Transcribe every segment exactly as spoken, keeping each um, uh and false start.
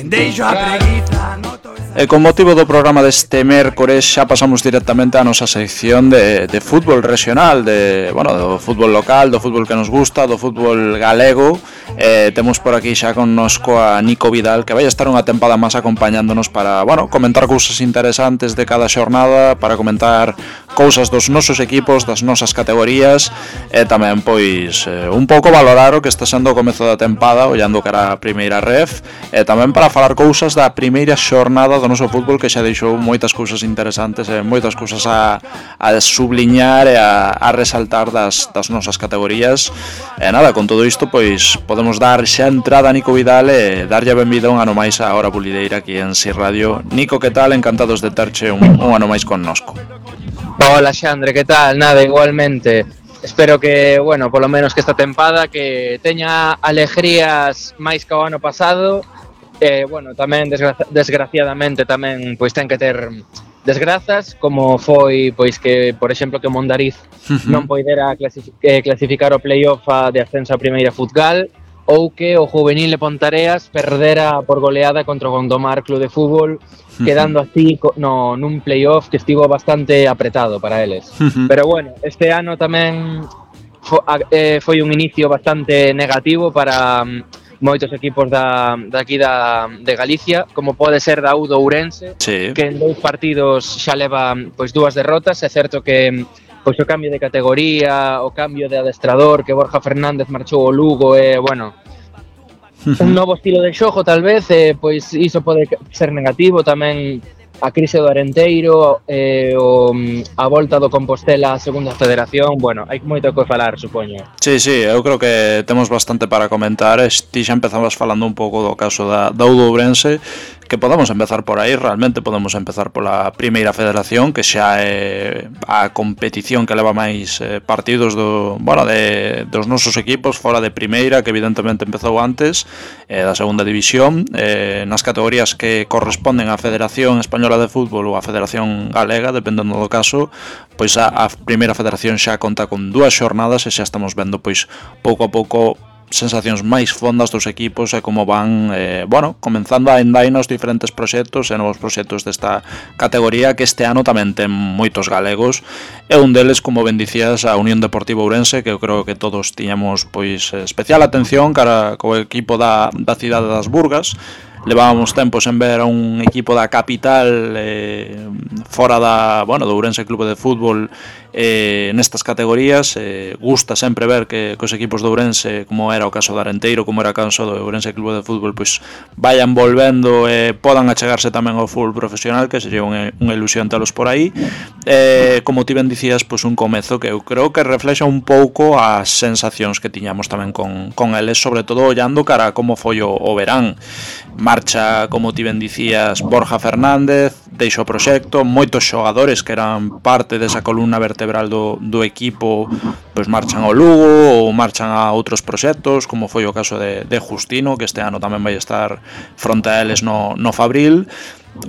Deixo a preguiza. E con motivo do programa deste mércores xa pasamos directamente á nosa sección de, de fútbol regional, de, bueno, do fútbol local, do fútbol que nos gusta, do fútbol galego. Eh, temos por aquí xa connosco a Nico Vidal, que vai estar unha tempada máis acompañándonos para, bueno, comentar cousas interesantes de cada xornada, para comentar cousas dos nosos equipos, das nosas categorías, e tamén, pois, eh, un pouco valorar o que está sendo o comezo da tempada, ollando cara a primeira ref, e tamén para falar cousas da primeira xornada do noso fútbol, que xa deixou moitas cousas interesantes e moitas cousas a, a subliñar e a, a resaltar das, das nosas categorías. E nada, con todo isto, pois, podemos dar xa entrada a Nico Vidal e darlle a benvida un ano máis a Hora Bulideira aquí en Si Radio. Nico, que tal? Encantados de terche un, un ano máis connosco. Hola Xandre, que tal? Nada, igualmente. Espero que, bueno, polo menos que esta tempada que teña alegrías máis que o ano pasado. Eh, bueno, tamén desgra- desgraciadamente tamén pois ten que ter desgrazas, como foi pois que, por exemplo, que Mondariz non poidera clasific- eh, clasificar o playoff de ascenso a primeira Futgal, ou que o juvenil de Pontareas perdera por goleada contra o Gondomar Club de Fútbol, quedando así no, nun playoff que estivo bastante apretado para eles. Pero bueno, este ano tamén fo, eh, foi un inicio bastante negativo para moitos equipos da, da aquí da, de Galicia, como pode ser da U do Ourense, sí, que en dous partidos xa leva pois dúas derrotas. É certo que pois o cambio de categoría, o cambio de adestrador, que Borja Fernández marchou ao Lugo, e, bueno, un novo estilo de xogo, tal vez, e, pois iso pode ser negativo. Tamén a crise do Arenteiro, eh, o, a volta do Compostela á segunda federación. Bueno, hai moito que falar, supoño. Sí, sí, eu creo que temos bastante para comentar. Ti xa empezamos falando un pouco do caso da, da U do Ourense, que podemos empezar por aí. Realmente podemos empezar pola primeira federación, que xa é a competición que leva máis eh, partidos do, bueno, de, dos nosos equipos fora de primeira, que evidentemente empezou antes, eh, da segunda división, eh, nas categorías que corresponden á Federación Española de Fútbol ou á Federación Galega, dependendo do caso. Pois a, a primeira federación xa conta con dúas xornadas e xa estamos vendo, pois, pouco a pouco sensacións máis fondas dos equipos e como van, eh, bueno, comenzando a andar nos diferentes proxectos e novos proxectos desta categoría, que este ano tamén ten moitos galegos, e un deles, como ben dicías, a Unión Deportiva Ourense, que eu creo que todos tiñamos, pois, especial atención cara co equipo da, da cidade das Burgas. Levábamos tempos en ver a un equipo da capital eh, fora da, bueno, do Ourense Clube de Fútbol eh, nestas categorías. Eh, gusta sempre ver que, que os equipos do Ourense, como era o caso do Arenteiro, como era o caso do Ourense Clube de Fútbol, pois vayan volvendo e eh, podan achegarse tamén ao fútbol profesional, que sería unha, unha ilusión telos por aí. Eh, como ti ben dicías, pois un comezo que eu creo que reflexa un pouco as sensacións que tiñamos tamén con, con eles, sobre todo ollando cara a como foi o, o verán. Marcha, como ti ben dicías, Borja Fernández, deixa o proxecto, moitos xogadores que eran parte desa columna vertebral do, do equipo, pois marchan ao Lugo ou marchan a outros proxectos, como foi o caso de, de Justino, que este ano tamén vai estar fronte a eles no, no Fabril.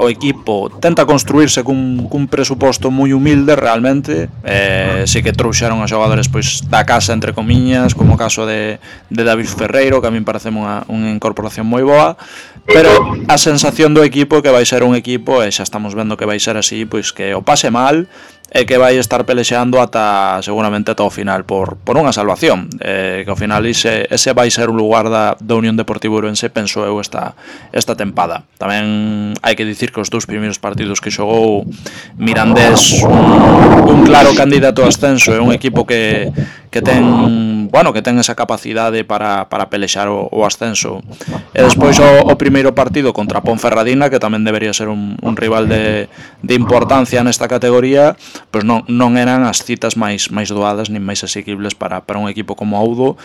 O equipo tenta construirse cun, cun presuposto moi humilde realmente, eh, si que trouxeron a xogadores pois da casa, entre comiñas, como o caso de, de David Ferreiro, que a min parece unha, unha incorporación moi boa, pero a sensación do equipo que vai ser un equipo, e xa estamos vendo que vai ser así, pois que o pase mal e que vai estar pelexeando ata, seguramente ata o final por, por unha salvación, eh, que ao final ese, ese vai ser o lugar da, da Unión Deportiva Ourense, penso eu, esta, esta tempada. Tamén hai que dicir que os dous primeiros partidos que xogou Mirandés, un, un claro candidato a ascenso, é un equipo que, que ten, bueno, que ten esa capacidade para, para pelexar o, o ascenso. E despois o, o primeiro partido contra Ponferradina, que tamén debería ser un, un rival de, de importancia nesta categoría, pois non, non eran as citas máis máis doadas nin máis asequibles para, para un equipo como Audo.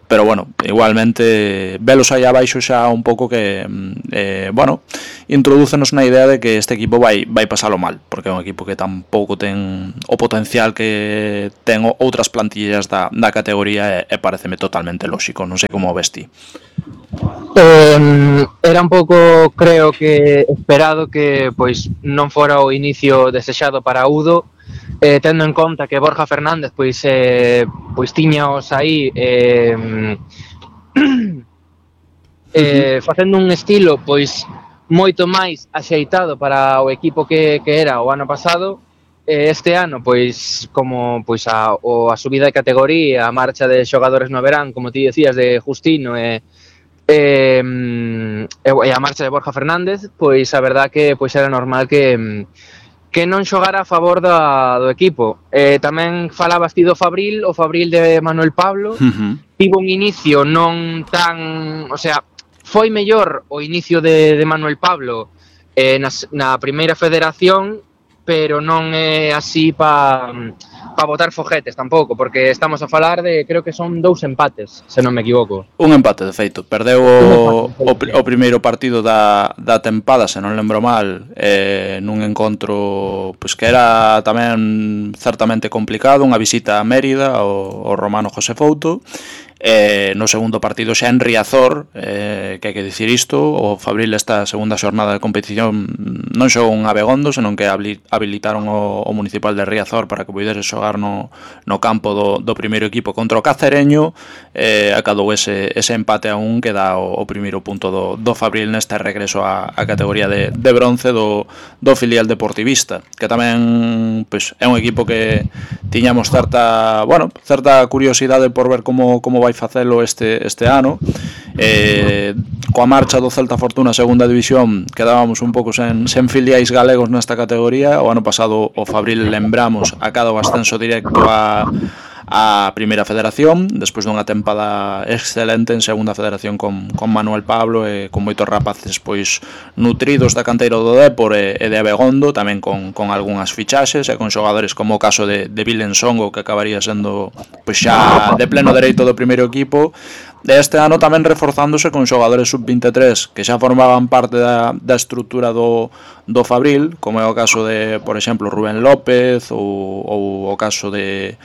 Pero bueno, igualmente velos aí abaixo xa un pouco que eh, bueno, introdúcenos na idea de que este equipo vai, vai pasalo mal, porque é un equipo que tampouco ten o potencial que ten outras plantillas da, da categoría, e, e pareceme totalmente lóxico. Non sei como o ves ti. Eh, era un pouco, creo que esperado que pois non fora o inicio desexado para Udo, eh, tendo en conta que Borja Fernández pois eh, pois tiñaos aí eh, eh, facendo un estilo pois moito máis axeitado para o equipo que, que era o ano pasado. Eh, este ano, pois, como pois a, o, a subida de categoría, a marcha de xogadores no verán, como ti decías, de Justino e, e, e a marcha de Borja Fernández, pois a verdad que pois era normal que que non xogara a favor da, do equipo. Eh, tamén falabas ti do Fabril, o Fabril de Manuel Pablo, uh-huh. Tivo un inicio non tan, o sea, foi mellor o inicio de, de Manuel Pablo eh, na, na primeira federación, pero non é así pa, pa botar foguetes tampouco, porque estamos a falar de, creo que son dous empates, se non me equivoco. Un empate, de feito. Perdeu o, o, o primeiro partido da, da tempada, se non lembro mal, eh, nun encontro pois que era tamén certamente complicado, unha visita a Mérida ao, ao Romano José Fouto. Eh, no segundo partido xa en Riazor, eh, que hai que dicir isto, o Fabril esta segunda xornada de competición non xogou un Abegondo, senón que habilitaron o, o municipal de Riazor para que pudese xogar no, no campo do, do primeiro equipo contra o Cacereño. eh, acadou ese, ese empate a un que dá o, o primeiro punto do, do Fabril neste regreso a, a categoría de, de bronce do, do filial deportivista, que tamén pois, é un equipo que tiñamos certa, bueno, certa curiosidade por ver como, como vai facelo este, este ano. Eh, coa marcha do Celta Fortuna segunda división quedábamos un pouco sen, sen filiais galegos nesta categoría. O ano pasado o Fabril, lembramos, acada o ascenso directo a a primeira federación, despois dunha tempada excelente en segunda federación con, con Manuel Pablo e con moitos rapaces pois nutridos da canteira do Dépor e, e de Abegondo, tamén con, con algunhas fichaxes e con xogadores como o caso de, de Vilen Songo, que acabaría sendo pois xa de pleno dereito do primeiro equipo. De este ano tamén reforzándose con xogadores sub vinte e tres que xa formaban parte da, da estrutura do, do Fabril, como é o caso de, por exemplo, Rubén López ou, ou o caso de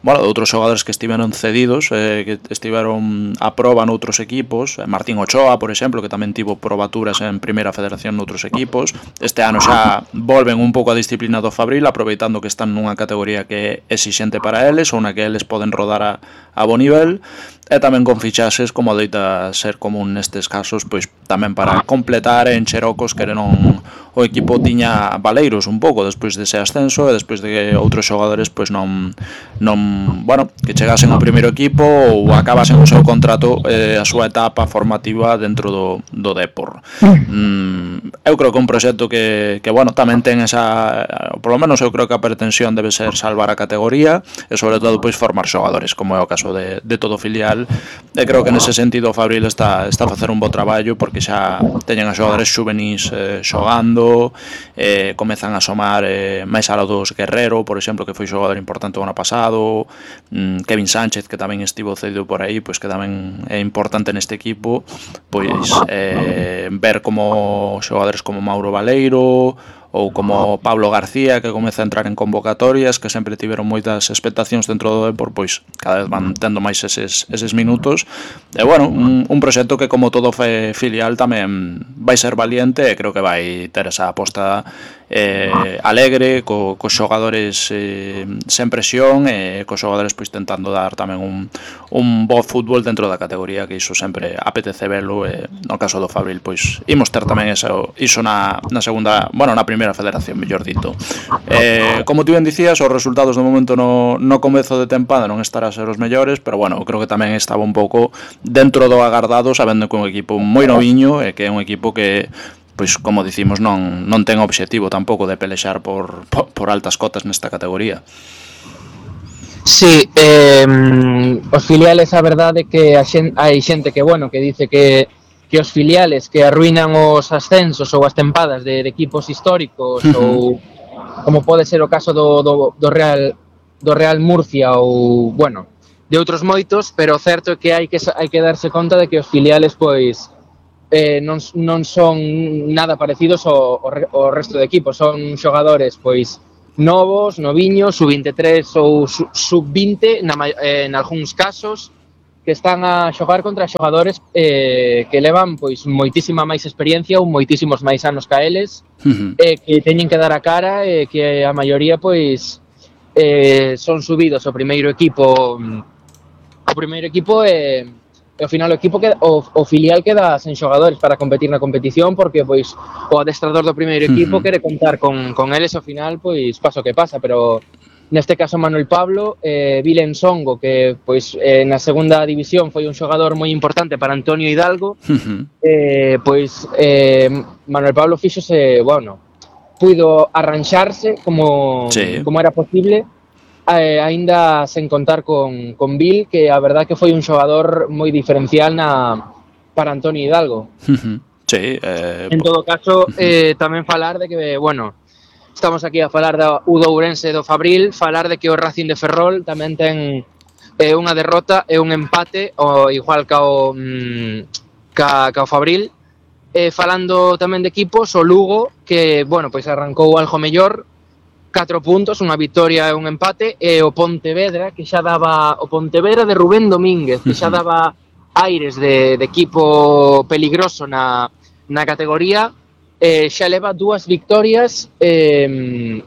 bueno, de outros xogadores que estiveron cedidos, eh, que estiveron a proba noutros equipos. Martín Ochoa, por exemplo, que tamén tivo probaturas en primeira federación noutros equipos. Este ano xa volven un pouco a disciplina do Fabril, aproveitando que están nunha categoría que é exixente para eles, ou na que eles poden rodar a, a bo nivel. E tamén con fichaxes, como adoita ser común nestes casos, pois tamén para completar e encher ocos que non o equipo tiña baleiros un pouco despois dese ascenso e despois de que outros xogadores pois non non, bueno, que chegasen ao primeiro equipo ou acabasen o seu contrato e eh, a súa etapa formativa dentro do, do Dépor. Mm, eu creo que un proxecto que, que bueno, tamén ten esa, por lo menos eu creo que a pretensión debe ser salvar a categoría e sobre todo pois formar xogadores, como é o caso de, de todo filial. E creo que nese sentido o Fabril está, está a facer un bo traballo, porque xa teñen a xogadores xuvenis eh, xogando, eh, comezan a somar eh, máis aló dos Guerrero, por exemplo, que foi xogador importante o ano pasado, mm, Kevin Sánchez, que tamén estivo cedido por aí, pois que tamén é importante neste equipo, pois eh, ver como xogadores como Mauro Baleiro ou como Pablo García, que comeza a entrar en convocatorias, que sempre tiveron moitas expectacións dentro do Dépor, pois cada vez van tendo máis eses, eses minutos. E bueno, un, un proxecto que como todo fe filial tamén vai ser valiente e creo que vai ter esa aposta eh, alegre, co, cos xogadores eh, sen presión e cos xogadores pois tentando dar tamén un, un bo fútbol dentro da categoría, que iso sempre apetece velo, e no caso do Fabril pois imos ter tamén eso, iso na, na segunda, bueno, na primeira federación, mellor dito. Eh, como ti ben dicías, os resultados do momento no, no comezo de tempada non estará a ser os mellores, pero bueno, creo que tamén estaba un pouco dentro do agardado, sabendo que é un equipo moi noviño e que é un equipo que pois como dicimos non, non ten obxectivo tampouco de pelexar por, por, por altas cotas nesta categoría. Sí, eh, os filiales, a verdade que a xen, hai xente que, bueno, que dice que que os filiales que arruinan os ascensos ou as tempadas de, de equipos históricos ou como pode ser o caso do, do, do Real do Real Murcia ou, bueno, de outros moitos, pero o certo é que hai que hai que darse conta de que os filiales pois eh, non, non son nada parecidos ao, ao resto de equipos, son xogadores pois novos, noviños, sub vinte e tres ou sub vinte na, eh, en algúns casos, que están a xogar contra xogadores eh, que levan pois moitísima máis experiencia ou moitísimos máis anos ca eles, uh-huh. eh, que teñen que dar a cara e eh, que a maioría pois eh, son subidos ao primeiro equipo o primeiro equipo e, e ao final o equipo queda, o, o filial queda sen xogadores para competir na competición porque pois o adestrador do primeiro equipo uh -huh. quere contar con, con eles ao final, pois pasa o que pasa, pero neste caso Manuel Pablo, eh, Vilen Songo, que pois eh, na segunda división foi un xogador moi importante para Antonio Hidalgo, uh -huh. eh, pois eh, Manuel Pablo fíxose, bueno, puido arranxarse como, sí. como era posible, eh, aínda sen contar con, con Bill, que a verdad que foi un xogador moi diferencial na, para Antonio Hidalgo. Uh-huh. Sí, eh, en todo caso, eh, tamén falar de que, bueno, estamos aquí a falar da U de Ourense do Fabril, falar de que o Racing de Ferrol tamén ten eh, unha derrota e un empate, o igual ca o, mm, ca, ca o Fabril. Eh, falando tamén de equipos, o Lugo, que, bueno, pois arrancou algo mellor, catro puntos, unha victoria e un empate, e o Pontevedra, que xa daba, o Pontevedra de Rubén Domínguez, que xa daba aires de, de equipo peligroso na, na categoría, eh, xa leva dúas victorias, eh,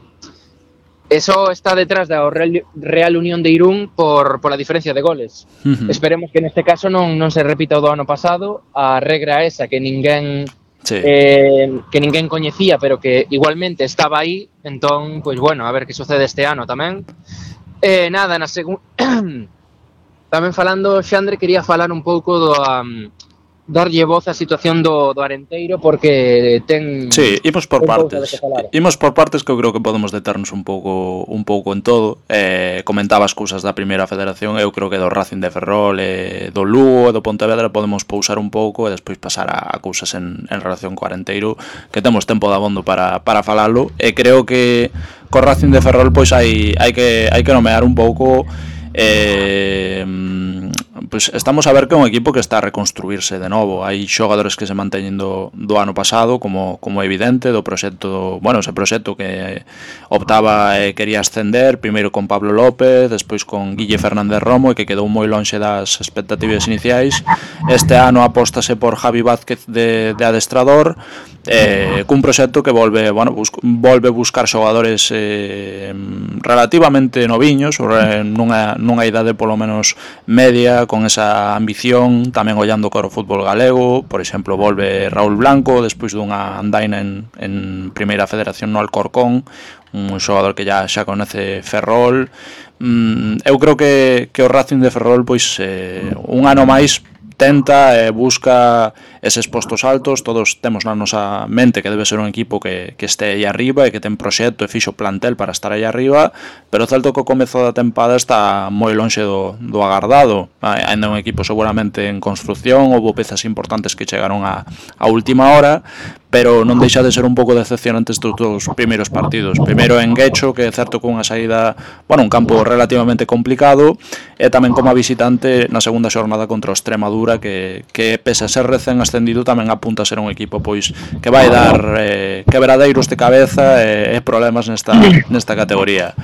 eso está detrás da Real, Real Unión de Irún por, por a diferencia de goles. Uh-huh. Esperemos que neste caso non, non se repita o do ano pasado, a regra esa que ninguén... Sí. Eh, que ninguén coñecía, pero que igualmente estaba aí, entón, pois bueno, a ver que sucede este ano tamén. Eh, nada, na segunda tamén falando, Xandre, quería falar un pouco do um, darlle voz á situación do, do Arenteiro, porque ten... Sí, imos por partes. Imos por partes que eu creo que podemos deternos un pouco un pouco en todo. Eh, comentaba as cousas da primeira federación, eu creo que do Racing de Ferrol, eh, do Lugo e do Pontevedra podemos pousar un pouco e despois pasar a, a cousas en, en relación co Arenteiro, que temos tempo de abondo para, para falalo. E creo que co Racing de Ferrol pois hai, hai, que, hai que nomear un pouco... Eh, pues estamos a ver que é un equipo que está a reconstruirse de novo. Hai xogadores que se manteñen do, do ano pasado, como, como evidente, do proxecto, bueno, ese proxecto que optaba e quería ascender, primeiro con Pablo López, despois con Guille Fernández Romo, e que quedou moi lonxe das expectativas iniciais. Este ano apóstase por Javi Vázquez de, de adestrador, eh, cun proxecto que volve, bueno, bus, volve buscar xogadores eh, relativamente noviños, nunha, nunha idade polo menos media, con esa ambición, tamén ollando cara o fútbol galego. Por exemplo, volve Raúl Blanco despois dunha andaina en, en Primeira Federación no Alcorcón, un xogador que ya xa conoce Ferrol. Mm, eu creo que, que o Racing de Ferrol pois eh, un ano máis tenta e eh, busca eses postos altos. Todos temos na nosa mente que debe ser un equipo que, que este aí arriba e que ten proxecto e fixo plantel para estar aí arriba, pero o certo que o comezo da tempada está moi lonxe do, do agardado. Ainda un equipo seguramente en construcción, houve pezas importantes que chegaron a, a última hora, pero non deixa de ser un pouco decepcionante estes dos primeiros partidos. Primeiro en Guecho, que é certo que unha saída, bueno, un campo relativamente complicado, e tamén como visitante na segunda xornada contra o Extremadura, que, que pese a ser recén ascendido tamén apunta a ser un equipo pois que vai dar eh, quebradeiros de cabeza e, e problemas nesta, nesta categoría.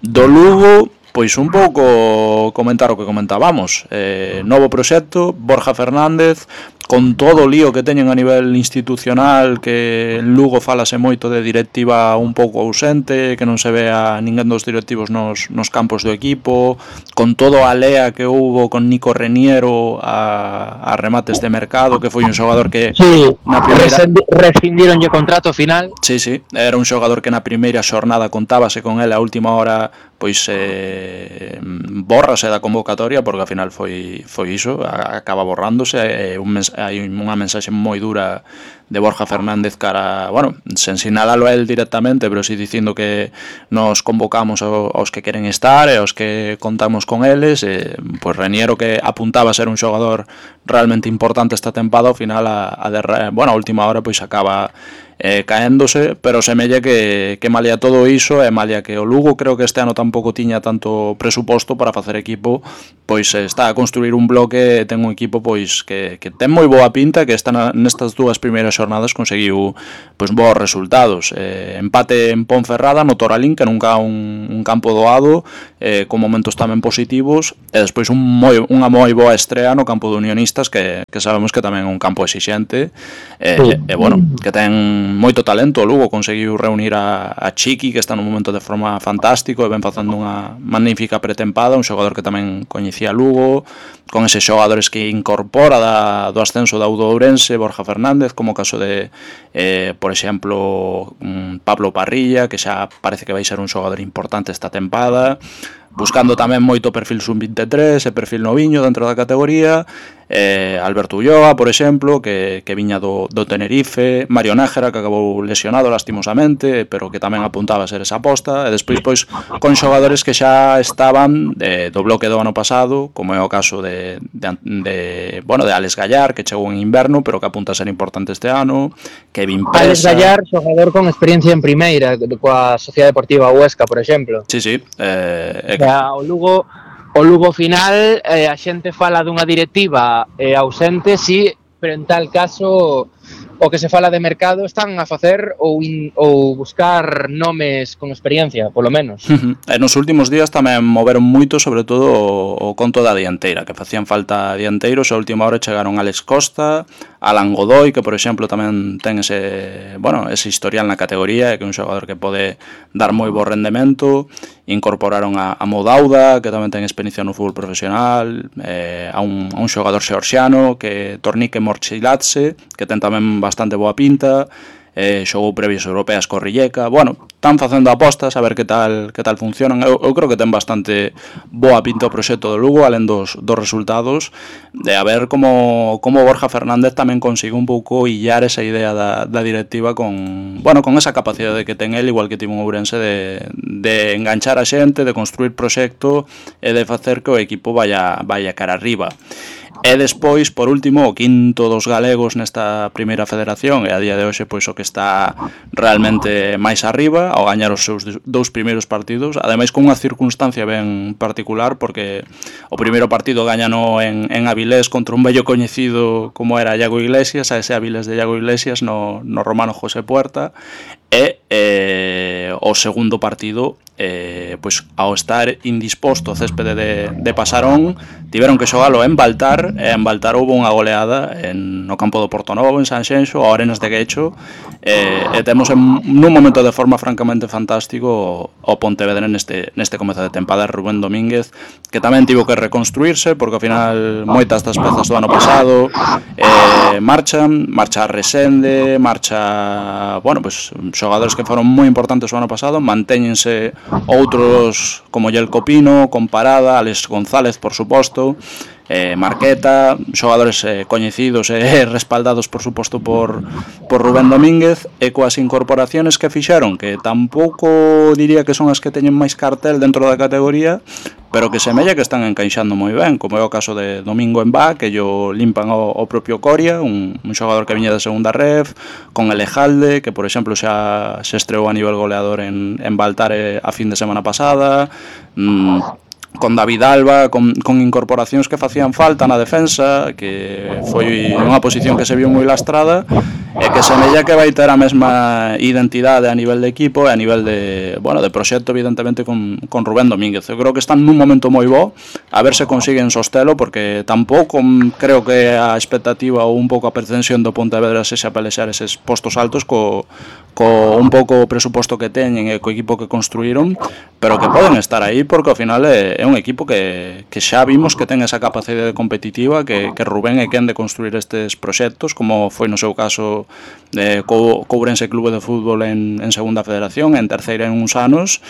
Do Lugo, pois un pouco comentar o que comentábamos, eh, novo proxecto, Borja Fernández, con todo o lío que teñen a nivel institucional, que en Lugo falase moito de directiva un pouco ausente, que non se ve a ninguén dos directivos nos, nos campos do equipo, con todo a lea que houbo con Nico Reniero a, a remates de mercado, que foi un xogador que sí, na primeira... rescindironlle contrato final. Sí, sí, era un xogador que na primeira xornada contábase con ele, a última hora pois eh, bórrase da convocatoria, porque ao final foi, foi iso, acaba borrándose. É un mens- hai unha mensaxe moi dura de Borja Fernández cara, bueno, sen sinalalo a él directamente, pero si dicindo que nos convocamos aos que queren estar e aos que contamos con eles. E, pois Reniero, que apuntaba a ser un xogador realmente importante esta tempada, ao final a, a, de, bueno, a última hora pois acaba eh, caéndose, pero semella que, que malia todo iso, e malia que o Lugo creo que este ano tampouco tiña tanto presuposto para facer equipo, pois está a construir un bloque, ten un equipo pois que, que ten moi boa pinta, que está na, nestas dúas primeiras xornadas conseguiu pois bons resultados. Eh, empate en Ponferrada no Toralín, que nunca un, un campo doado, eh, con momentos tamén positivos, e despois un moi, unha moi boa estrea no campo de Unionistas, que, que sabemos que tamén é un campo exixente, e, e bueno, que ten ten moito talento. O Lugo conseguiu reunir a, a Chiqui, que está nun momento de forma fantástico e ven facendo unha magnífica pretempada, un xogador que tamén coñecía Lugo, con eses xogadores que incorpora da, do ascenso da Udo Ourense, Borja Fernández, como o caso de, eh, por exemplo, Pablo Parrilla, que xa parece que vai ser un xogador importante esta tempada, buscando tamén moito perfil sub veintitrés e perfil noviño dentro da categoría, eh, Alberto Ulloa, por exemplo, que, que viña do, do Tenerife, Mario Nájera, que acabou lesionado lastimosamente, pero que tamén apuntaba a ser esa aposta, e despois pois con xogadores que xa estaban de, do bloque do ano pasado, como é o caso de, de, de, bueno, de Alex Gallar, que chegou en inverno, pero que apunta a ser importante este ano, Kevin Presa... Alex Gallar, xogador con experiencia en primeira, coa Sociedade Deportiva Huesca, por exemplo. Sí, sí, eh, O sea, o Lugo, o Lugo final, eh, a xente fala dunha directiva eh, ausente, sí, pero en tal caso o que se fala de mercado están a facer ou, in, ou buscar nomes con experiencia, polo menos. Uh-huh. E nos últimos días tamén moveron moito, sobre todo o, o conto da dianteira, que facían falta dianteiros, a última hora chegaron Alex Costa, Alan Godoy, que por exemplo tamén ten ese, bueno, ese historial na categoría, que é un xogador que pode dar moi bo rendemento. Incorporaron a, a Modauda, que tamén ten experiencia no fútbol profesional, eh, a, un, a un xogador xeorxiano, que Tornique Morchilatse, que ten tamén bastante boa pinta, eh, xogou previas europeas co Rijeka. Bueno, están facendo apostas a ver que tal que tal funcionan. Eu, eu creo que ten bastante boa pinta o proxecto do Lugo, alén dos, dos resultados, de a ver como, como Borja Fernández tamén consigue un pouco illar esa idea da, da directiva con, bueno, con esa capacidade que ten el, igual que tivo un Ourense, de, de enganchar a xente, de construir proxecto e de facer que o equipo vaya, vaya cara arriba. E despois, por último, o quinto dos galegos nesta primeira federación, e a día de hoxe pois o que está realmente máis arriba, ao gañar os seus dous primeiros partidos, ademais con unha circunstancia ben particular, porque o primeiro partido gañano en, en Avilés contra un vello coñecido como era Iago Iglesias, a ese Avilés de Iago Iglesias no, no Romano José Puerta, e eh, o segundo partido, eh, pois ao estar indisposto o céspede de, de Pasarón, tiveron que xogalo en Baltar, e en Baltar houve unha goleada en, no campo do Portonovo, en Sanxenxo, ao Arenas de Guecho, e, e temos en, nun momento de forma francamente fantástico o Pontevedra neste, neste comezo de tempada, Rubén Domínguez, que tamén tivo que reconstruirse, porque ao final moitas das pezas do ano pasado eh, marchan, marcha Resende, marcha, bueno, pois xogadores que foron moi importantes o ano pasado, mantéñense outros como Yelko Pino, con Parada, Alex González, por suposto, eh, Marqueta, xogadores eh, coñecidos e eh, respaldados, por suposto, por, por Rubén Domínguez, e coas incorporaciones que fixeron, que tampouco diría que son as que teñen máis cartel dentro da categoría, pero que semella que están encaixando moi ben, como é o caso de Domingo Embá, que yo limpan o, o propio Coria, un, un xogador que viña de segunda ref, con Elejalde, que por exemplo xa se estreou a nivel goleador en, en Baltare a fin de semana pasada, mmm, con David Alba, con, con incorporacións que facían falta na defensa, que foi unha posición que se viu moi lastrada, e que semella que vai ter a mesma identidade a nivel de equipo e a nivel de, bueno, de proxecto, evidentemente, con, con Rubén Domínguez. Eu creo que están nun momento moi bo, a ver se consiguen sostelo, porque tampouco creo que a expectativa ou un pouco a pretensión do Pontevedra sexa pelexar eses postos altos co, co un pouco o presuposto que teñen e co equipo que construíron, pero que poden estar aí, porque ao final é, é un equipo que, que xa vimos que ten esa capacidade competitiva, que, que Rubén é quen de construir estes proxectos, como foi no seu caso de co, co Ourense Clube de Fútbol en, en segunda federación, en terceira en uns anos,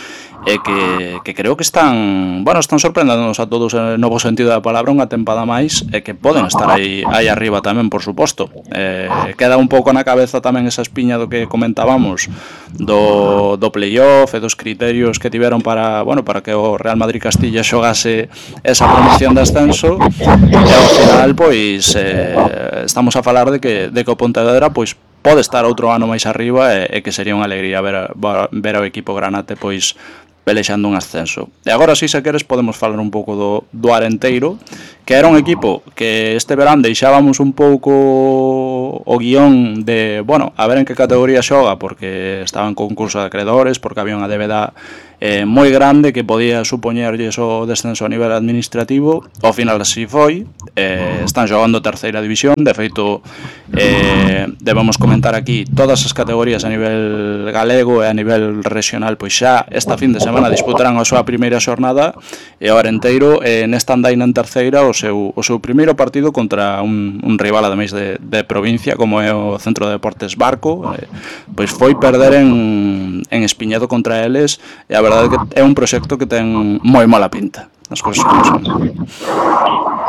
e que, que creo que están, bueno, están sorprendéndonos a todos en novo sentido da palabra, unha tempada máis, e que poden estar aí, aí arriba tamén, por suposto. Eh, queda un pouco na cabeza tamén esa espiña do que comentábamos do, do playoff e dos criterios que tiveron para, bueno, para que o Real Madrid Castilla xogase esa promoción de ascenso, e ao final pois eh, estamos a falar de que, de que o Pontevedra pois pode estar outro ano máis arriba, e, e que sería unha alegría ver, ver ao equipo granate pois pelexando un ascenso. E agora, si se queres, podemos falar un pouco do, do Arenteiro, que era un equipo que este verán deixábamos un pouco o guión de, bueno, a ver en que categoría xoga, porque estaba en concurso de acreedores, porque había unha débeda eh, moi grande que podía supoñerlles o descenso a nivel administrativo. Ao final así foi, eh, están xogando terceira división, de feito eh, debemos comentar aquí todas as categorías a nivel galego e a nivel regional, pois xa esta fin de semana disputarán a súa primeira xornada e o Arenteiro eh, nesta andaina en terceira o seu, o seu primeiro partido contra un, un rival ademais de, de provincia como é o Centro de Deportes Barco, eh, pois foi perder en, en Espiñedo contra eles e a verdade é que é un proxecto que ten moi mala pinta, as cousas como son.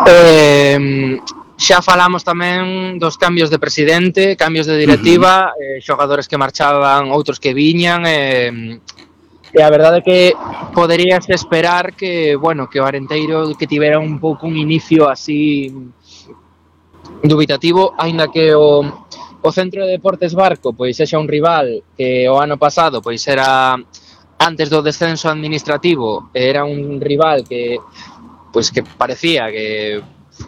Eh, xa falamos tamén dos cambios de presidente, cambios de directiva, uh-huh. eh, xogadores que marchaban, outros que viñan, eh, e a verdade é que poderías esperar que, bueno, que o Arenteiro que tivera un pouco un inicio así dubitativo, aínda que o o Centro de Deportes Barco pois sexa un rival que o ano pasado pois era antes do descenso administrativo, era un rival que pois que parecía que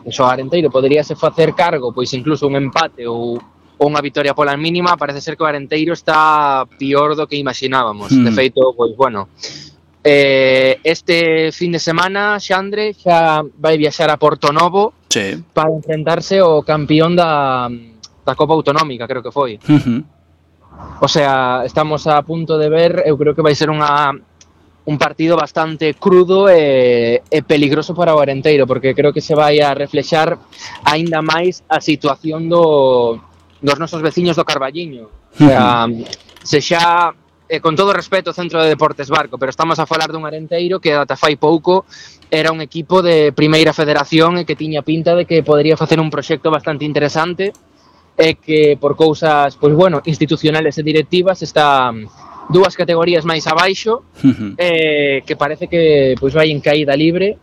o Arenteiro poderíase facer cargo, pois incluso un empate ou ou unha vitoria pola mínima. Parece ser que o Arenteiro está pior do que imaginábamos. Mm. De feito, pois bueno, eh, este fin de semana Xandre xa vai viaxar a Porto Novo, sí, para enfrentarse ao campeón da da Copa Autonómica, creo que foi. Uh-huh. O sea, estamos a punto de ver, eu creo que vai ser unha un partido bastante crudo e, e peligroso para o Arenteiro, porque creo que se vai a reflexar aínda máis a situación do, dos nosos veciños do Carballiño. O sea, se xa, eh, con todo respeto, Centro de Deportes Barco, pero estamos a falar dun Arenteiro que ata fai pouco era un equipo de primeira federación e que tiña pinta de que podería facer un proxecto bastante interesante, e que por cousas, pois bueno, institucionales e directivas está dúas categorías máis abaixo, uh-huh. eh, que parece que pois vai en caída libre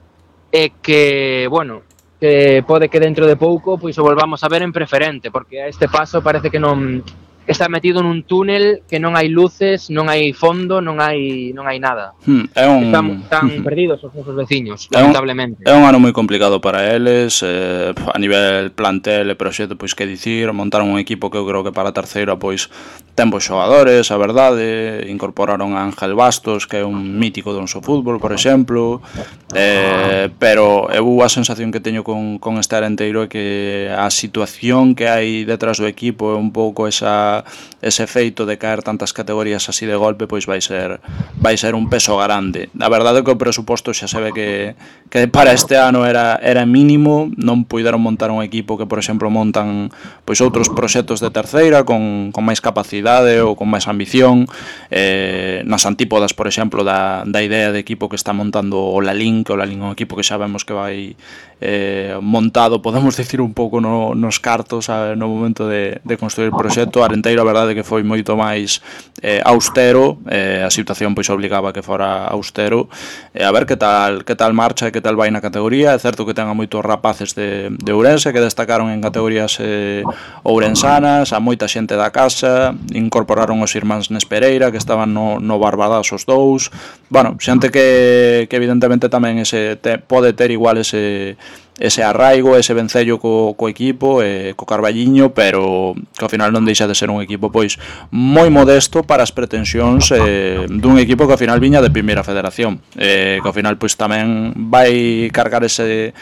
e que, bueno, que pode que dentro de pouco pois o volvamos a ver en preferente, porque a este paso parece que non está metido nun túnel que non hai luces, non hai fondo, non hai non hai nada. Hmm, é un... Están tan uh-huh. perdidos os nosos veciños, é lamentablemente. Un, é un ano moi complicado para eles, eh, a nivel plantel e proxecto, pois que dicir, montaron un equipo que eu creo que para a terceira pois ten bons xogadores, a verdade, incorporaron a Ángel Bastos, que é un mítico do noso fútbol, por exemplo, eh, pero eu a sensación que teño con, con este Arenteiro é que a situación que hai detrás do equipo é un pouco esa ese feito de caer tantas categorías así de golpe, pois vai ser vai ser un peso grande. A verdade é que o presuposto xa se ve que, que para este ano era, era mínimo, non puideron montar un equipo que, por exemplo, montan pois outros proxectos de terceira con, con máis capacidade ou con máis ambición, eh, nas antípodas, por exemplo, da, da idea de equipo que está montando o Lalín, que o Lalín é un equipo que xa vemos que vai eh, montado, podemos dicir, un pouco no, nos cartos, sabe, no momento de, de construir o proxecto. Arenteiro, a verdade é que foi moito máis eh, austero, eh, a situación pois obligaba que fora austero, e eh, a ver que tal que tal marcha e que tal vai na categoría. É certo que ten a moitos rapaces de, de Ourense que destacaron en categorías eh, ourensanas, a moita xente da casa, incorporaron os irmáns Nespereira que estaban no, no Barbadas os dous, bueno, xente que, que evidentemente tamén ese te, pode ter igual ese ese arraigo, ese vencello co, co equipo, eh, co Carballiño, pero que ao final non deixa de ser un equipo pois moi modesto para as pretensións eh, dun equipo que ao final viña de primeira federación, eh, que ao final pois tamén vai cargar ese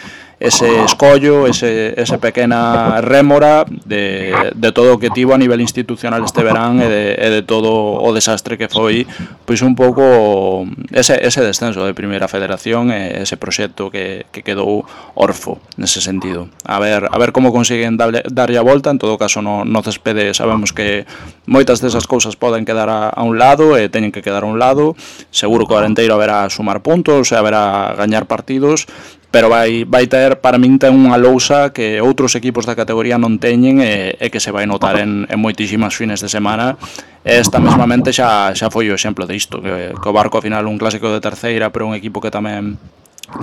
ese escollo, ese, ese pequena rémora de, de todo o que tivo a nivel institucional este verán e de, e de todo o desastre que foi pois un pouco ese, ese descenso de primeira federación e ese proxecto que, que quedou orfo nese sentido. A ver, a ver como consiguen darlle, darlle a volta. En todo caso no, no céspede sabemos que moitas desas cousas poden quedar a, a un lado e teñen que quedar a un lado. Seguro que o Arenteiro haberá sumar puntos e haberá gañar partidos, pero vai, vai ter, para min ten unha lousa que outros equipos da categoría non teñen e, e que se vai notar en, en moitísimas fines de semana. Esta mesmamente xa, xa foi o exemplo de isto, que, que o Barco ao final un clásico de terceira, pero un equipo que tamén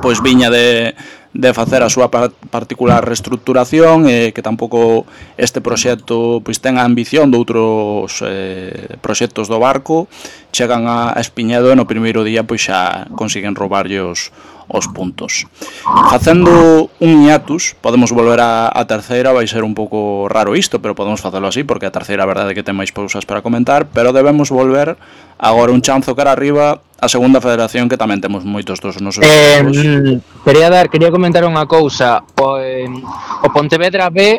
pois viña de, de facer a súa particular reestructuración e que tampouco este proxecto pois ten a ambición de outros eh, proxectos do Barco. Chegan a Espiñedo e no primeiro día pois xa consiguen roubarlle os os puntos. Facendo un hiatus, podemos volver a, a terceira, vai ser un pouco raro isto, pero podemos facelo así, porque a terceira a verdade é que ten máis cousas para comentar, pero debemos volver agora un chanzo cara arriba a segunda federación, que tamén temos moitos dos nosos eh, equipos. Quería dar, quería comentar unha cousa. O, eh, o Pontevedra B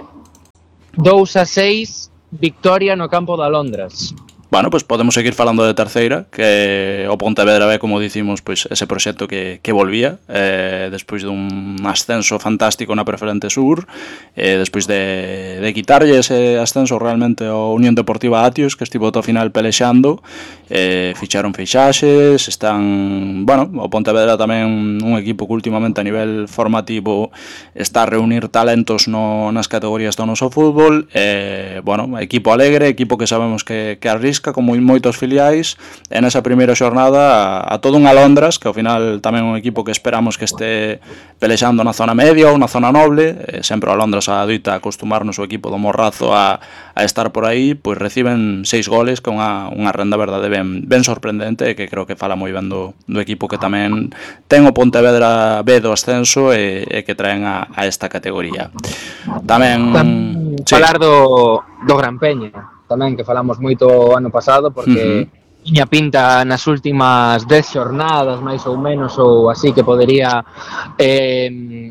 dous a seis victoria no campo de Alondras. Bueno, pois pues podemos seguir falando de terceira, que o Pontevedra B, como dicimos, pois pues ese proxecto que, que volvía eh, despois dun ascenso fantástico na Preferente Sur, eh, despois de, de quitarlle ese ascenso realmente ao Unión Deportiva Atios, que estivo ao final pelexando, eh, ficharon fixaxes, están, bueno, o Pontevedra tamén un equipo que últimamente a nivel formativo está a reunir talentos no, nas categorías do noso fútbol, eh, bueno, equipo alegre, equipo que sabemos que, que arrisca, como moitos filiais, en esa primeira xornada a, a todo un Alondras, que ao final tamén un equipo que esperamos que este pelexando na zona media ou na zona noble, eh, sempre o Alondras adoita acostumarnos o equipo do Morrazo a, a estar por aí, pois reciben seis goles con unha, unha renda verdade ben, ben sorprendente, e que creo que fala moi ben do, do equipo que tamén ten o Pontevedra B do ascenso e, e que traen a, a esta categoría. Tamén... Sí. Falar do, do Gran Peña tamén, que falamos moito o ano pasado, porque uh-huh. tiña pinta nas últimas dez xornadas, máis ou menos, ou así, que podería eh,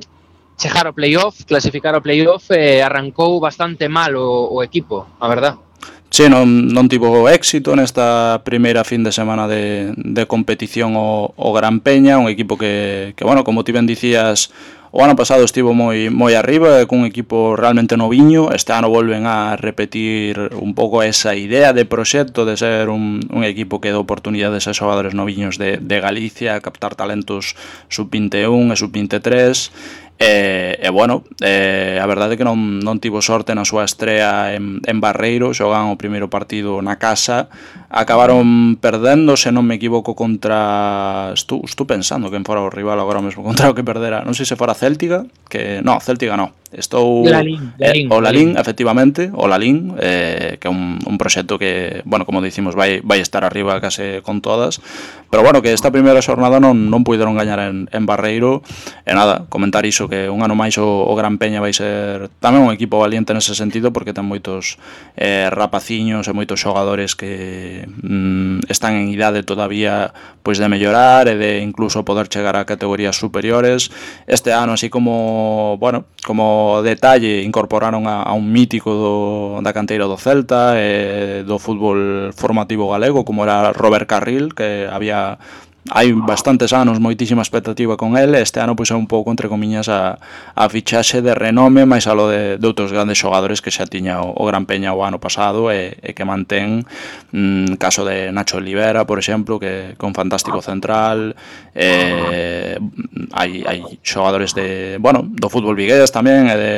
chegar ao playoff, clasificar ao playoff, e arrancou bastante mal o, o equipo, a verdad. Sí, non, non tivo éxito nesta primeira fin de semana de, de competición o, o Gran Peña, un equipo que, que, bueno, como ti ben dicías, o ano pasado estivo moi moi arriba, cun equipo realmente noviño. Este ano volven a repetir un pouco esa idea de proxecto de ser un, un equipo que dá oportunidades a xogadores noviños de, de Galicia, captar talentos sub vinte e un e sub vinte e tres. E, e bueno, eh, a verdade é que non, non tivo sorte na súa estrea en, en Barreiro, xogan o primeiro partido na casa, acabaron perdendo, se non me equivoco, contra... Estou, estou pensando quen fora o rival agora mesmo contra o que perdera, non sei se fora Céltiga, que... No, Céltiga non. Estou... Lalín, Lalín, eh, o Lalín, Lalín, efectivamente, o Lalín, eh, que é un, un proxecto que, bueno, como dicimos, vai, vai estar arriba case con todas, pero bueno, que esta primeira xornada non, non puideron gañar en, en Barreiro, e nada, comentar iso, que un ano máis o, o Gran Peña vai ser tamén un equipo valiente nese sentido, porque ten moitos eh, rapaciños e moitos xogadores que mm, están en idade todavía pois de mellorar e de incluso poder chegar a categorías superiores. Este ano, así como, bueno, como detalle, incorporaron a, a un mítico do, da canteira do Celta e do fútbol formativo galego, como era Robert Carril, que había hai bastantes anos moitísima expectativa con ele. Este ano pois é un pouco, entre comiñas, a, a fichaxe de renome, máis alo de, de outros grandes xogadores que xa tiña o, o Gran Peña o ano pasado e, e que mantén, mm, caso de Nacho Olivera, por exemplo, que con fantástico central. eh, hai, hai xogadores de, bueno, do fútbol vigués tamén, e de,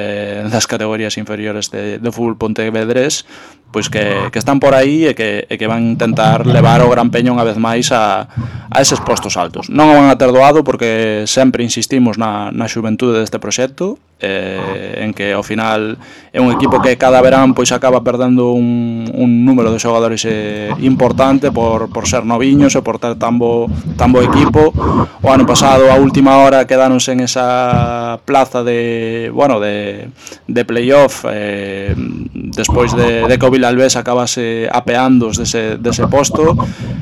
das categorías inferiores de, do fútbol pontevedrés, pois que, que están por aí e que, e que van intentar levar o Gran Peña unha vez máis a, a eses postos altos. Non o van a ter doado, porque sempre insistimos na, na xuventude deste proxecto, eh, en que ao final é un equipo que cada verán pois acaba perdendo un, un número de xogadores eh, importante por, por ser noviños e por ter tan bo, tan bo equipo. O ano pasado, a última hora, quedáronse en esa plaza de, bueno, de, de playoff, eh, despois de, de que o Vilalbés acabase apeando dese, dese posto.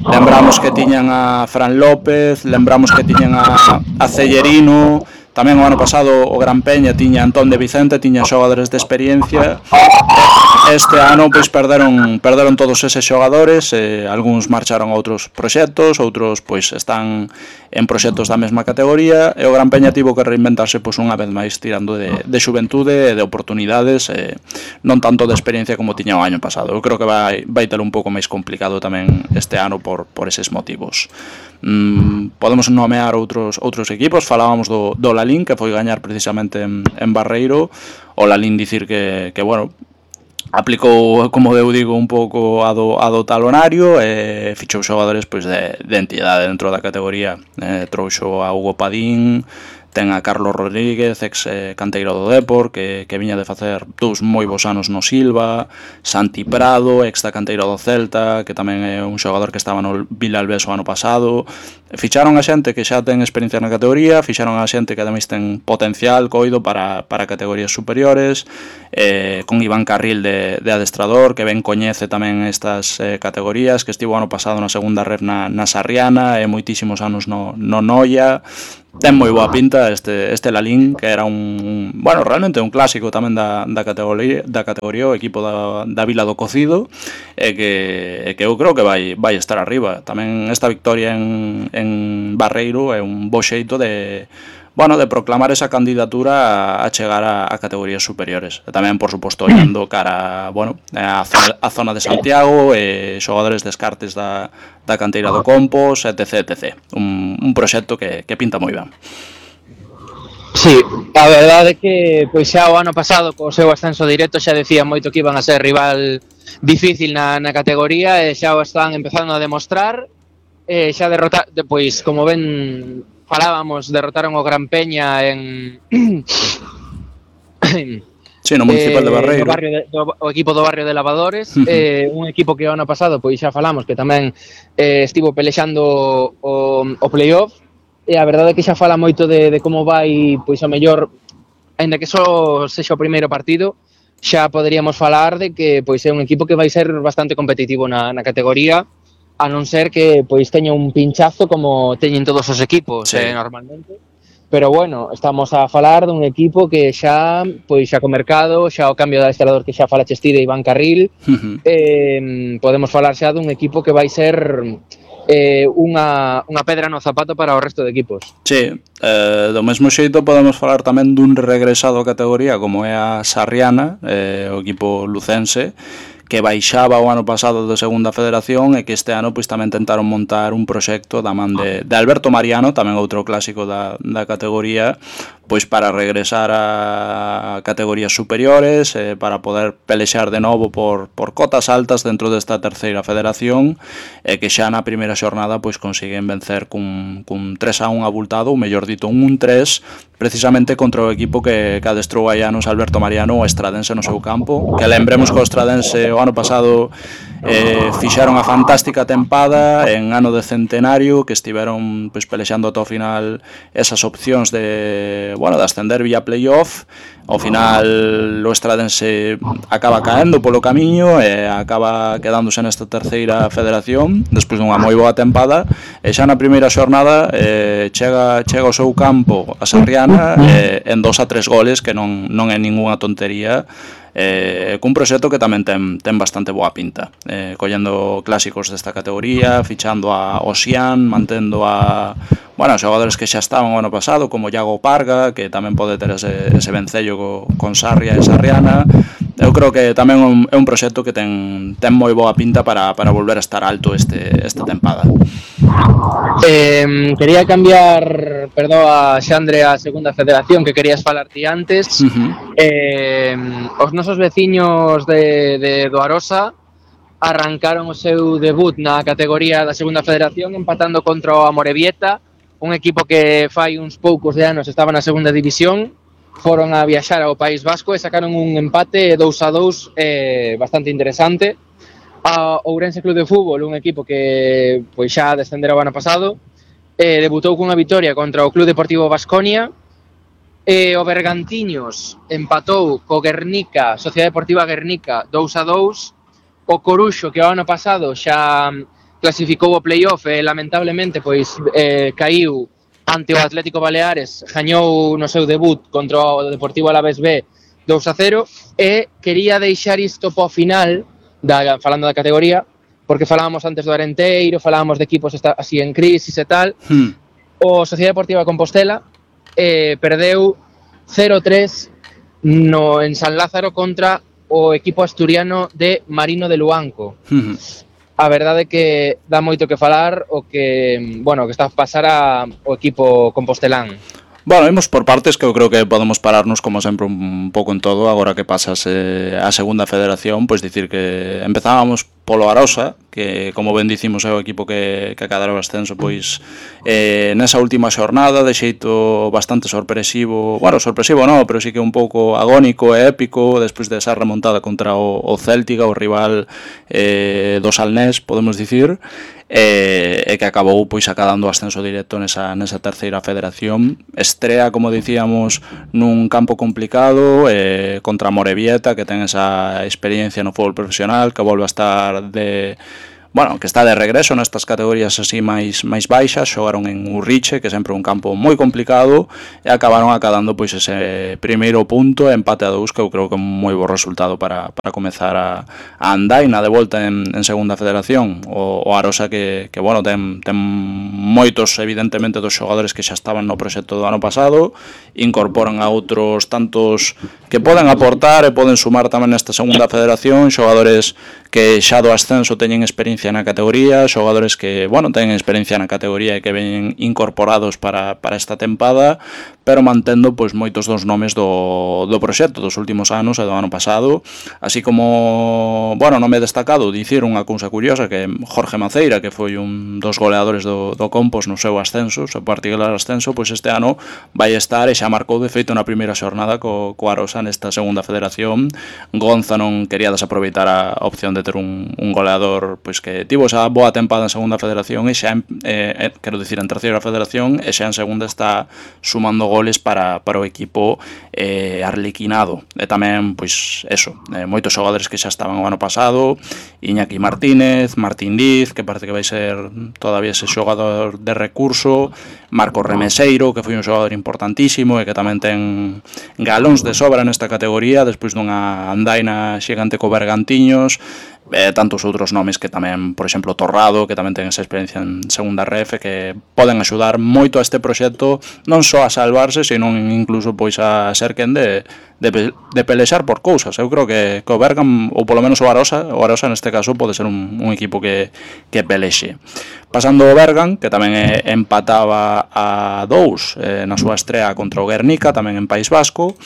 Lembramos que tiñan a Fran López, lembramos que tiñan a, a Cellerino. Tamén o ano pasado o Gran Peña tiña Antón de Vicente, tiña xogadores de experiencia. Este ano pois perderon perderon todos eses xogadores, eh, algúns marcharon a outros proxectos, outros pois están en proxectos da mesma categoría, e o Gran Peña tivo que reinventarse pois unha vez máis tirando de, de xuventude e de oportunidades, eh, non tanto de experiencia como tiña o ano pasado. Eu creo que vai, vai ter un pouco máis complicado tamén este ano por, por eses motivos. Mm, podemos nomear outros outros equipos. Falábamos do, do Lalín, que foi gañar precisamente en, en Barreiro. O Lalín dicir que, que bueno, aplicou, como eu digo, un pouco a do, a do talonario e fichou xogadores pois de, de entidade dentro da categoría. eh, trouxo a Hugo Padín, ten a Carlos Rodríguez, ex eh, canteiro do Depor, que, que viña de facer dous moi bons anos no Silva, Santi Prado, ex da canteira do Celta, que tamén é un xogador que estaba no Vilalbés o ano pasado. Ficharon a xente que xa ten experiencia na categoría, fixaron a xente que ademais ten potencial coido para, para categorías superiores, eh, con Iván Carril de, de adestrador, que ben coñece tamén estas eh, categorías, que estivo ano pasado na segunda ref na, na Sarriana e moitísimos anos no, no Noia. Ten moi boa pinta este, este Lalín, que era un, bueno, realmente un clásico tamén da, da categoría, da categoría, o equipo da, da Vila do Cocido, e que, e que eu creo que vai, vai estar arriba. Tamén esta victoria en, en Barreiro é un bo xeito de, bueno, de proclamar esa candidatura a, a chegar a, a categorías superiores. E tamén, por suposto, olhando cara, bueno, a zona, a zona de Santiago, e xogadores descartes da, da canteira do Compos, etc, etcétera. Un, un proxecto que, que pinta moi ben. Sí, a verdade é que pois xa o ano pasado co seu ascenso directo xa decía moito que iban a ser rival difícil na, na categoría, e xa o están empezando a demostrar. E xa derrotar, pois como ben falábamos, derrotaron o Gran Peña en sí, no Municipal de Barreiro, eh, no barrio de, do, o equipo do barrio de Lavadores, uh-huh. eh, un equipo que o ano pasado pois xa falamos que tamén eh, estivo pelexando o, o playoff, e a verdade é que xa fala moito de, de como vai, pois a mellor, aínda que só sexa o primeiro partido, xa poderíamos falar de que pois é un equipo que vai ser bastante competitivo na, na categoría, a non ser que pois teña un pinchazo como teñen todos os equipos, sí. eh, normalmente. Pero bueno, estamos a falar dun equipo que xa pois xa co mercado, xa o cambio de adestrador que xa fala Chestí de Iván Carril, uh-huh. eh, podemos falar xa dun equipo que vai ser eh, unha, unha pedra no zapato para o resto de equipos. Sí, eh, do mesmo xeito podemos falar tamén dun regresado a categoría como é a Sarriana, eh, o equipo lucense, que baixaba o ano pasado de segunda federación e que este ano pois tamén tentaron montar un proxecto da man de, de Alberto Mariano, tamén outro clásico da, da categoría, pois para regresar a categorías superiores, eh, para poder pelexar de novo por, por cotas altas dentro desta terceira federación, e que xa na primeira xornada pois consiguen vencer cun, cun tres a un abultado, ou mellor dito un un tres, precisamente contra o equipo que, que adestrou hai anos Alberto Mariano, o Estradense no seu campo, que lembremos que o Estradense o ano pasado eh, fixaron a fantástica tempada en ano de centenario, que estiveron pois, pelexando ata o final esas opcións de, bueno, de ascender vía playoff. Ao final o Estradense acaba caendo polo camiño e acaba quedándose nesta terceira federación despois dunha moi boa tempada, e xa na primeira xornada eh, chega, chega ao seu campo a Sarriana eh, en dos a tres goles, que non, non é ningunha tontería, eh, cun proxecto que tamén ten, ten bastante boa pinta, eh, collendo clásicos desta categoría, fichando a Osian, mantendo a, bueno, xogadores que xa estaban o ano pasado, como Iago Parga, que tamén pode ter ese, ese vencello co, con Sarria e Sarriana. Eu creo que tamén un, é un proxecto que ten, ten moi boa pinta para, para volver a estar alto este, esta tempada. Eh, quería cambiar, perdón, a Xandre a segunda federación, que querías falar ti antes. Uh-huh. eh, os nosos veciños de, de do Arosa arrancaron o seu debut na categoría da segunda federación empatando contra o Amorebieta, un equipo que fai uns poucos de anos estaba na segunda división. Foron a viaxar ao País Vasco e sacaron un empate dous a dous eh, bastante interesante. A Ourense Club de Fútbol, un equipo que pois xa descendera o ano pasado, eh, debutou cunha vitoria contra o Club Deportivo Baskonia. E o Bergantiños empatou co Guernica, Sociedade Deportiva Guernica, dous a dous. O Coruxo, que o ano pasado xa clasificou o playoff e lamentablemente pois eh, caíu ante o Atlético Baleares, gañou no seu debut contra o Deportivo Alavés B dous a cero, e quería deixar isto po final, da, falando da categoría, porque falábamos antes do Arenteiro, falábamos de equipos esta, así en crisis e tal. Hmm. O Sociedade Deportiva Compostela eh, perdeu cero tres no, en San Lázaro contra o equipo asturiano de Marino de Luanco. Hmm. A verdade é que dá moito que falar o que, bueno, que está a pasar ao equipo compostelán. Bueno, imos por partes, que eu creo que podemos pararnos como sempre un pouco en todo. Agora que pasas eh, a segunda federación, pois dicir que empezábamos polo Arosa, que como ben dicimos é o equipo que, que acadara o ascenso pois eh, nesa última xornada de xeito bastante sorpresivo, bueno, sorpresivo non, pero sí que un pouco agónico e épico despois desa remontada contra o, o Céltica, o rival eh, do Salnés, podemos dicir, e, e que acabou pois acadando o ascenso directo nesa, nesa terceira federación. Estrea, como dicíamos, nun campo complicado eh, contra Morevieta, que ten esa experiencia no fútbol profesional, que volve a estar de... Bueno, que está de regreso nestas categorías así máis máis baixas. Xogaron en Urriche, que sempre é un campo moi complicado, e acabaron acadando pois ese primeiro punto, empate a dous, que eu creo que é un moi bo resultado para, para comezar a, a andaina de volta en, en segunda federación. O, o Arosa que, que bueno, ten, ten moitos, evidentemente, dos xogadores que xa estaban no proxecto do ano pasado, incorporan a outros tantos que poden aportar e poden sumar tamén nesta segunda federación, xogadores que xa do ascenso teñen experiencia na categoría, xogadores que, bueno, teñen experiencia na categoría e que ven incorporados para, para esta tempada, pero mantendo pois moitos dos nomes do, do proxecto dos últimos anos e do ano pasado, así como, bueno, nome destacado, dicir unha cousa curiosa, que Jorge Maceira, que foi un dos goleadores do, do Compos no seu ascenso, seu particular ascenso, pois este ano vai estar e xa marcou de feito na primeira xornada co, co Arosa nesta segunda federación. Gonza non quería desaproveitar a opción de ter un, un goleador pois que tivo esa boa tempada en segunda federación e xa, eh, quero dicir, en terceira federación, e xa en segunda está sumando goles para, para o equipo eh, arlequinado. E tamén, pois, eso, eh, moitos xogadores que xa estaban o ano pasado, Iñaki Martínez, Martín Liz, que parece que vai ser todavía ese xogador de recurso, Marco Remeseiro, que foi un xogador importantísimo e que tamén ten galóns de sobra nesta categoría, despois dunha andaina xigante co Bergantiños, e tantos outros nomes que tamén, por exemplo, Torrado, que tamén ten esa experiencia en segunda ref, que poden axudar moito a este proxecto, non só a salvarse, sino incluso pois a ser quen de, de, de pelexar por cousas. Eu creo que, que o Bergam, ou polo menos o Arosa, o Arosa neste caso pode ser un, un equipo que, que pelexe. Pasando o Bergan, que tamén empataba a dous eh, na súa estrea contra o Guernica, tamén en País Vasco.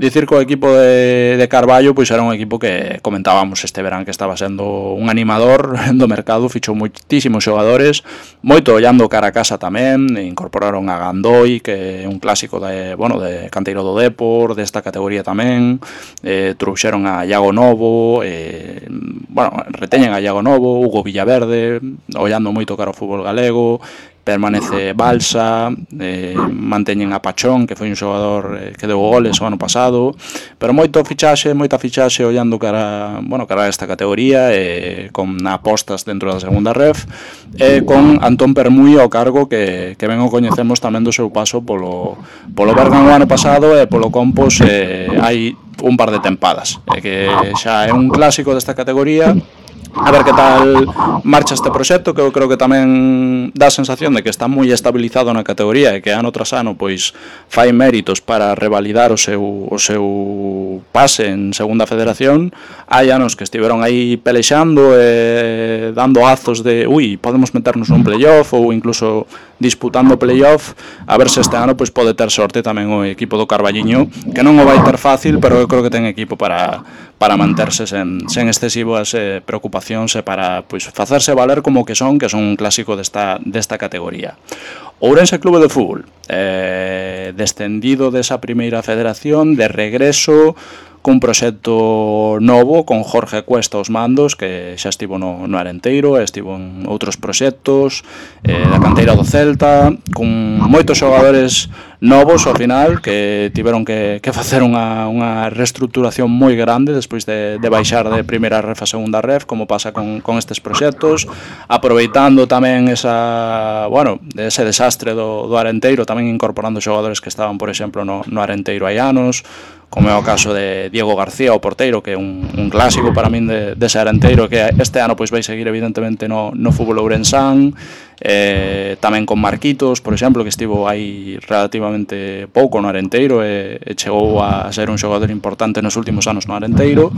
Dicir que o equipo de, de Carballo pois era un equipo que comentábamos este verán que estaba sendo un animador do mercado, fichou moitísimos xogadores, moito ollando cara a casa tamén, incorporaron a Gandoi, que é un clásico de, bueno, de canteiro do Depor, desta categoría tamén, eh, trouxeron a Iago Novo, eh, bueno, reteñen a Iago Novo, Hugo Villaverde, ollando moito cara ao fútbol galego, permanece Balsa, eh, manteñen a Pachón, que foi un xogador eh, que deu goles o ano pasado, pero moito fichaxe, moita fichaxe ollando cara, bueno, cara a esta categoría, eh, con apostas dentro da segunda ref, e eh, con Antón Permui ao cargo, que, que ben o coñecemos tamén do seu paso polo, polo Bergan o ano pasado e polo Compos eh, hai un par de tempadas, e que xa é un clásico desta categoría. A ver que tal marcha este proxecto, que eu creo que tamén dá a sensación de que está moi estabilizado na categoría e que ano tras ano pois fai méritos para revalidar o seu, o seu pase en segunda federación. Hai anos que estiveron aí pelexando e dando azos de ui, podemos meternos nun playoff ou incluso disputando playoff, a ver se este ano pois pode ter sorte tamén o equipo do Carballiño, que non o vai ter fácil, pero eu creo que ten equipo para para manterse sen, sen excesivas eh, preocupacións e para pois facerse valer como que son, que son un clásico desta, desta categoría. Ourense Clube de Fútbol, eh, descendido desa primeira federación, de regreso, cun proxecto novo, con Jorge Cuesta aos mandos, que xa estivo no, no Arenteiro, estivo en outros proxectos, eh, da canteira do Celta, con moitos xogadores novos ao final, que tiveron que, que facer unha, unha reestructuración moi grande despois de, de baixar de primeira ref a segunda ref, como pasa con, con estes proxectos, aproveitando tamén esa, bueno, ese desastre do, do Arenteiro, tamén incorporando xogadores que estaban, por exemplo, no, no Arenteiro hai anos, como é o caso de Diego García, o porteiro, que é un, un clásico para min de, de ser Arenteiro, que este ano pois vai seguir evidentemente no, no fútbol ourensán, eh, tamén con Marquitos, por exemplo, que estivo aí relativamente pouco no Arenteiro e, e chegou a ser un xogador importante nos últimos anos no Arenteiro.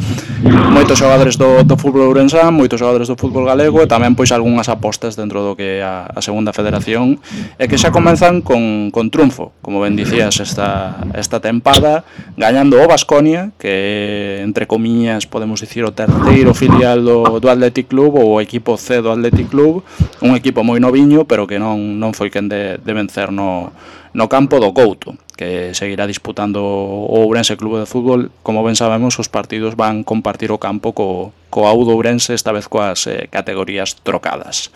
Moitos xogadores do, do fútbol ourensán, moitos xogadores do fútbol galego e tamén pois algunhas apostas dentro do que é a, a segunda federación e que xa comenzan con, con triunfo, como ben dicías, esta, esta tempada, gañando o Baskonia, que entre comiñas podemos dicir o terceiro filial do, do Athletic Club ou o equipo C do Athletic Club, un equipo moi noviño, pero que non, non foi quen de, de vencer no, no campo do Couto, que seguirá disputando o Ourense Club de Fútbol. Como ben sabemos, os partidos van compartir o campo co, co Audo Ourense, esta vez coas eh, categorías trocadas.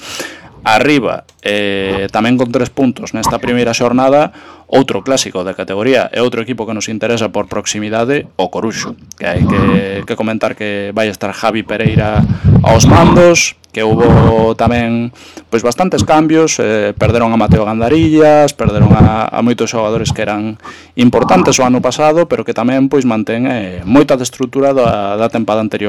Arriba, eh, tamén con tres puntos nesta primeira xornada, outro clásico da categoría e outro equipo que nos interesa por proximidade, o Coruxo, que hai que, que comentar que vai estar Javi Pereira aos mandos, que houbo tamén pois bastantes cambios, eh, perderon a Mateo Gandarillas, perderon a, a moitos xogadores que eran importantes o ano pasado, pero que tamén pois mantén eh, moita de estrutura da, da tempada anterior